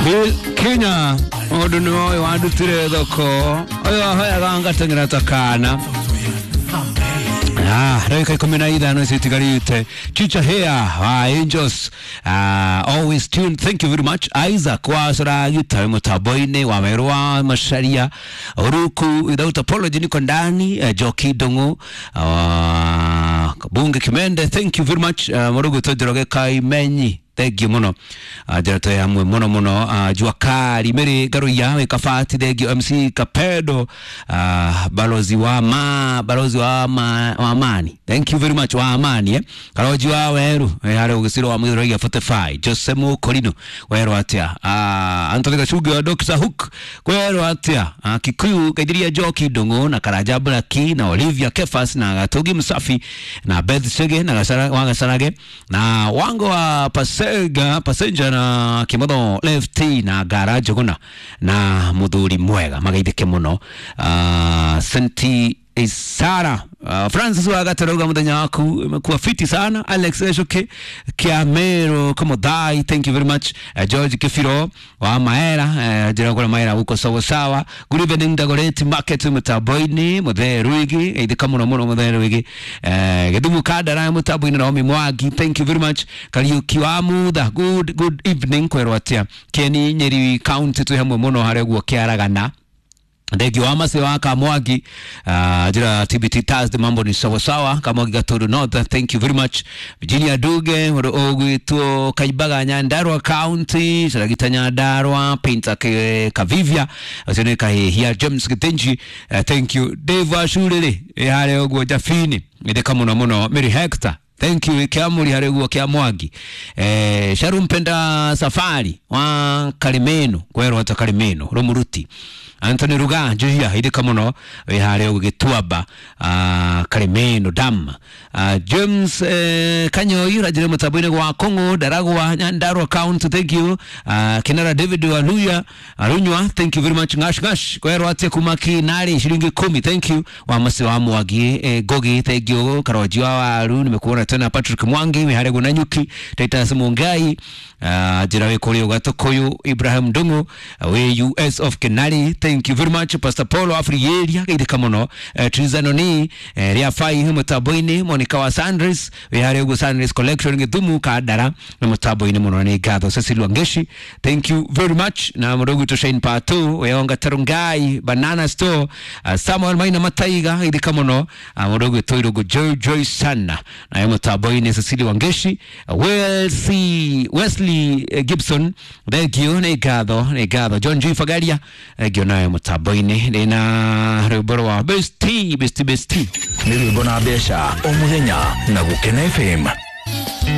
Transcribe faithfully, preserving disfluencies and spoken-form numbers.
Bill Kenya mundu ni oyo wandutire thoko oyo ahoyaga ngateng'era ta kana. Ah, dakika ikumi na ithano citigarite. Chicha here wa Angels, uh, always tuned. Thank you very much. Isaac wa Soragita mutambo-inĩ wa Meru wa Macharia Uruku without apology niko ndani. uh, Joki Dongo, uh, Bunge Kimende, thank you very much. uh, Murugu Njoroge Kaimenyi, thank you muno. uh, njĩra twĩ hamwe muno muno. uh, Jua Kali Mary Garuya wĩ Kabati, thank you. M C Kapedo, uh, balozi wa ma balozi wa ma, wa amani, thank you very much wa amani eh Karoji wa Weru eh harĩ ũgĩciro wa Mũgĩthũrai forty-five, Jose Mukorino Weru atia, uh, Anthony Gacugi wa Doctor Hook Weru atia, uh, Kikuyu Kaithiria Njoki Ndung'u na Karanja Blaki na Olivia Kefas na Gatugi Msafi na Beth Sege na Gasara, wa Gasarage na Wango wa Pasega Passenger na Kimotho Lefty na Gara Njuguna na muthuri mwega magaithike muno. uh, Senti Isara, uh, Francis wa Gatarauga muthenya waku umekuwa fiti sana. Alex Eshoke Kiamero Komodai, thank you very much. uh, George Kifiro wa Maera, uh, njira kula Maera uko sawa sawa. Good evening Dagoretti Market mutambo-inĩ Muthe Ruigi ithika muno muno Muthe Ruigi, uh, Githumu Kandara mutambo-inĩ Naomi Mwangi, thank you very much. Kariuki wa Mutha, good good evening kwerwo atia. Keni Nyeri County twi hamwe muno harĩa guo Kĩaragana. Ndegi wa Mase wa Kamwagi, uh, jira T B T Thursday mambo ni sawa sawa. Kamwagi Gaturu North, thank you very much. Virginia Duge ogwitwo Kaibaga Nyandarua County, Saragita Nyandarua, Painter Kavivia, ucio Kahihia James Githinji, uh, thank you. Dave Ashuriri harĩa ũguo Jafini ithika muno muno. Mary Hector, thank you. Kiamuri harĩa ũguo Kiamwagi. Eh, Sharumpenda Safari wa Karimeno kwerwo ta Karimeno Rumuruti. Anthony Ruga Njuhia ithika muno wi haria gituamba uh, Karimeno Dam. uh, James eh, Kanyoi rajire mutambo-inĩ gwa Kong'o Ndaragwa Nyandarua County, thank you. uh, Kinara David Waluya Arunywa, thank you very much. Ngash ngash kwerwo atia kuma Kinari shilingi kumi, thank you. Wa Masi wa Mwangi, eh, Gogi, thank you. Karoji wa Waru nimekuona tena. Patrick Mwangi wi haria Nanyuki. Titus Mungai, uh, njira wi kuri Gatukuyu. Ibrahim Ndung'u wi U S of Kinari, thank you very much. Pastor Paulo Afriyeria geithika muno. uh, Trizanoni uh, ria fai mutambo-inĩ. Monica wa Sandres wi haria uguo Sandres Collection Githumu Kandara na mutambo-inĩ muno nĩ ngatho. Cecil Wangeshi, thank you very much. Na mũndũ gwitũ Shane Patu weyonga Tarungai Banana Store, uh, Samuel Maina Mataiga geithika muno. Mũndũ gwitũ Irũngũ Joy Joy sana na mutambo-inĩ. Cecil Wangeshi, uh, Wesley Wesley uh, Gibson, thank you nĩ ngatho nĩ ngatho. John G Fagaria, thank you nayo mutambo-inĩ. Ndĩna rwĩmbo rwa Bestie Bestie Bestie nĩ rwĩmbo na mbeca o mũthenya na Gũkena F M.